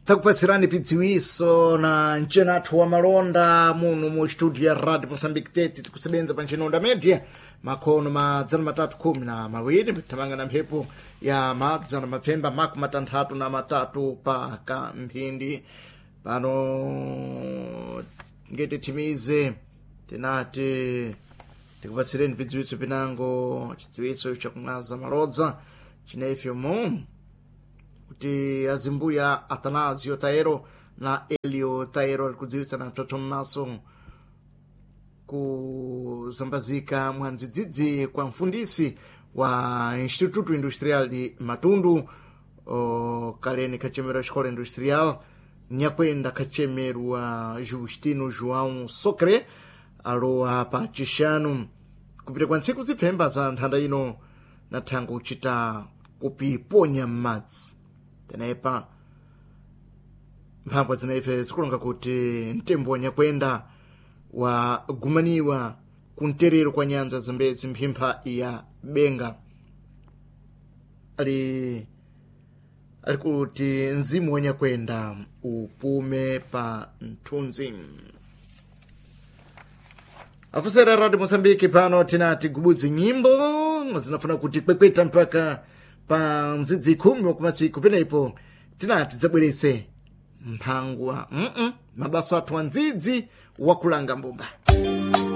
Takupatsirani pidziwiso na mchenathu wa malonda muno mu studio ya Radio Mozambique Tete, tikusebenza pa nchenonda media makhono 312, thamanga na mphepo ya 963 pa kamphindi. Pano ngete timize tinati tikupatsireni pidziwiso pinango, chidziwiso chakumwaza malodza chinefyomu kuti azimbuya Atanasio Taero na Elio Taero alikudziwitsa na mtoto mmaso kuzambazika mwandzidzidzi kwa mfundisi wa Instituto Industrial de Matundu, kaleni kachemero Escola Industrial Nyakwenda kachemerwa Justino João Socre, alowa pa chixanu kupita kwa ntsiku zipfemba za nthanda ino na thango kuchita kupiponya m'madzi. Tenepa mphambwa zinaife zikulonga kuti mtembo wa Nyakwenda wagumaniwa kumterero kwa nyanza Zambezi mphimpha ya Benga. Ali kuti mzimu wa Nyakwenda upume pa mthunzi. Afusera Radio Mozambique, pano tinati gubudzi nyimbo zinafuna kuti kwekweta mpaka pa mdzidzi 10 wakumatsiku, penepo tinati dzabwerese mphangwa mabasa athu andzidzi wakulanga mbumba.